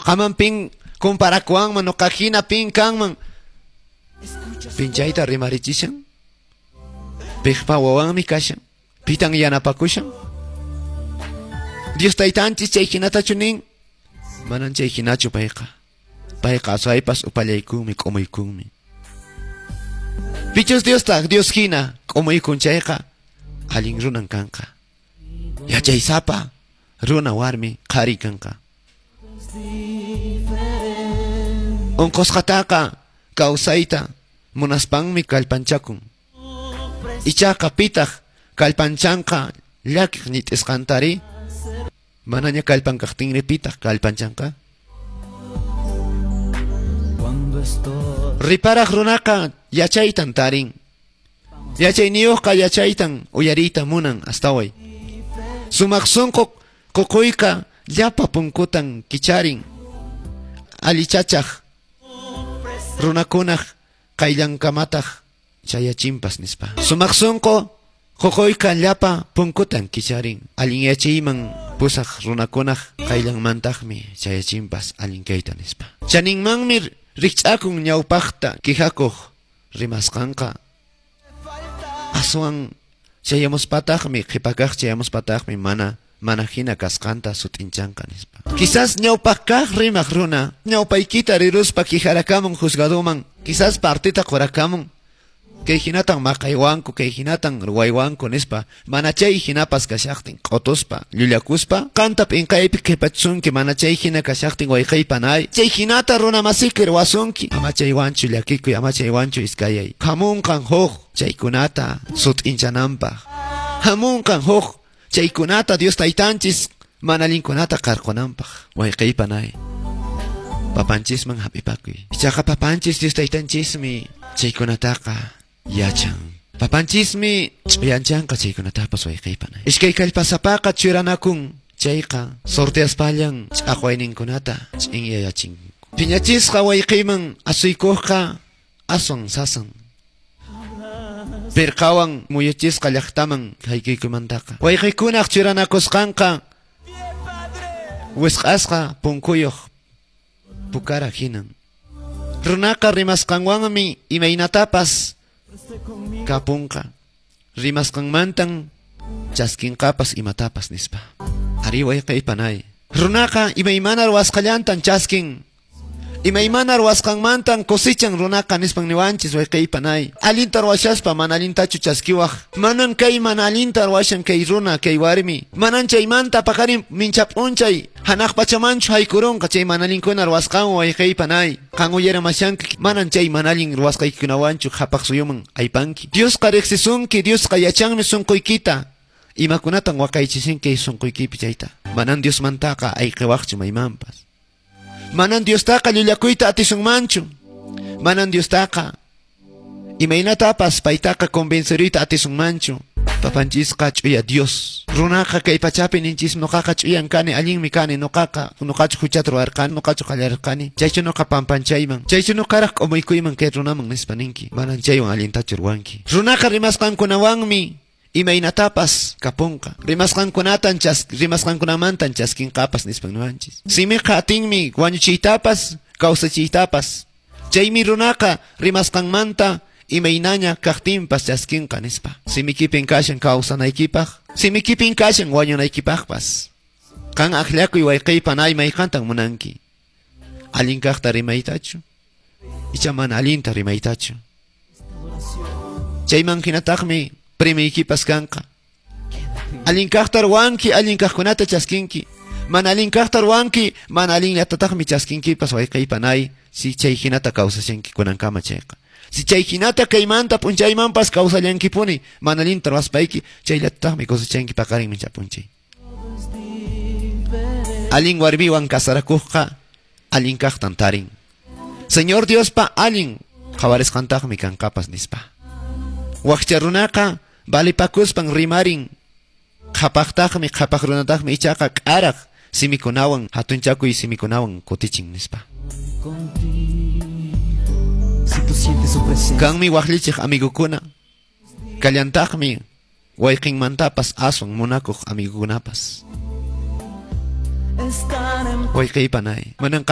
Noqaman pin comparakuwanman, noqa hina pin kanman. Pinchayta rimarichishan. Piqpa wawanmi kashan. Pitan yanapakushan. Dios taytanchis chay hinatachu nin. Manan chay hinachu payqa. Payqa aswaypas upallaykunmi, k'umuykunmi. Pichus Diostaq Dios hina k'umuykun chayqa allin runan kanqa. Yachaysapa runa warmi qhari kanqa. Unqusqataqa kawsayta munaspanmi kallpanchakun. Ichaqa pitaq kallpanchanqa llakiq ñit'isqantari? Manaña kallpan kaqtinri pitaq kallpanchanqa? Riparaq runaqa yachaytan tarin. Yachayniyuqqa yachaytan uyariyta munan astaway. Sumaq sunqu ququyqa llapa punkutan kicharin. Allichachaq runakunaq qayllankamataq chayachinpas nispa. Sumaq sunqu ququyqa llapa punkutan kicharin. Allin yachayman pusaq runakunaq qayllanmantaqmi chayachinpas allin kayta nispa. Chaninmanmi rikch'akun ñawpaqta kijakuq rimasqanqa. Aswan chayamuspataqmi qhipakaq chayamuspataqmi mana hina kasqanta sut'inchanqa nispa. Quizás ñawpaq kaq rimaq runa ñawpaykita riruspa kijarakamun juzgaduman, quizás partita qurakamun. Kay hinatan maqaywanku, kay hinatan ruwaywanku nispa, mana chay hinapas kashaqtin q'utuspa, llullakuspa, qanta p'inqaypi qhipachunki, mana chay hina kashaqtin wayqaypanay, chay hinata runa masiki ruwasunki, ama chaywanchu llakikuy, ama chaywanchu iskayay. Hamunqan huk chaykunata sut'inchananpaq. Hamunqan huk chaykunata Dios taytanchis mana allinkunata qarqunanpaq. Wayqaypanay. Papanchisman hap'ipakuy. Ichaqa papanchis Dios taytanchismi chaykunataqa yachan. Papanchismi ch'uyanchanqa chaykunatapas wayqaypanay. Iskay kallpasapaqa churanakun chayqa sorteaspallan ch'aqwayninkunata ch'inyayachinku. Phiñachisqa wayqiyman asuykuqqa aswan sasan. Pirqawan muyuchisqa llaqtaman haykuykumantaqa. Wayqiykunaq churanakusqanqa wisq'asqa punkuyuq pukara hinan. Runaqa rimasqanwanmi imaynatapas kapunqa. Rimasqanmantan chaskinqapas imatapas nispa. Ari wayqaypanay. Runaqa imaymana ruwasqallantan chaskin. Imaymana ruwasqanmantan cosechan runaqa nispan niwanchis wayqaypanay. Allinta ruwashaspa mana allintachu chaskiwaq. Manan kay mana allinta ruwashan kay runa kay warmi. Manan chaymanta paqarin minchap'unchay hanaq pachamanchu haykurunqa chay mana allinkuna ruwasqanwan wayqaypanay. Qan uyaramashanki manan chay mana allin ruwasqaykikunawanchu qhapaq suyuman aypanki. Diosqa riqsisunki, Diosqa yachanmi sunquykita. Imakunatan waqaychisinki sunquykipi chayta. Manan Diosmantaqa ayqiwaqchu maymanpas. Manan Diostaqa llullakuyta atisunmanchu. Manan Diostaqa imaynatapas paytaqa convenceruyta atisunmanchu. Papanchisqa ch'uya Dios. Runaqa kay pachapi ninchis noqaqa ch'uyan kani, allinmi kani, noqaqa noqachu huchata ruwarqani, noqachu qallarqani. Chaychu noqa pampanchayman, chaychu noqaraq k'umuykuyman kay runaman nispa ninki. Manan chaywan allintachu ruwanki. Runaqa rimasqankunawanmi imaynatapas kapunqa. Rimasqankunatan rimasqankunamantan chaskinqapas nispan niwanchis. Simiqa atinmi wañuchiytapas, kawsachiytapas. Chaymi runaqa rimasqanmanta imaynaña kaqtinpas chaskinqa nispa. Simikipin kashan kawsanaykipaq, simikipin kashan wañunaykipaqpas. Qan akllakuy wayqaypanay mayqantan munanki. Allin kaqta rimaytachu, icha mana allinta rimaytachu. Chayman hinataqmi primiykipas kanqa. Allin kaqta ruwanki, allin kaqkunata chaskinki. Mana allin kaqta ruwanki, mana allinllatataqmi chaskinkipas wayqaypanay. Si chay hinata kawsashanki kunankama chayqa. Si chay hinata kaymanta p'unchaymanpas kawsallankipuni, mana allinta ruwaspayki, chayllatataqmi kawsachanki paqarin minchap'unchay. Allin warmiwan kasarakuqqa allin kaqtan tarin. Señor Diospa allin qhawarisqantaqmi kanqapas nispa. Wakcha runaqa valipakuspan rimarin. Qhapaqtaqmi, qhapaq runataqmi ichaqa k'araq simikunawan, hatunchakuy simikunawan kutichin nispa. Kanmi waqllichiq amigukuna, kallantaqmi wayqinmantapas aswan munakuq amigukunapas. Wayqaypanay. Manan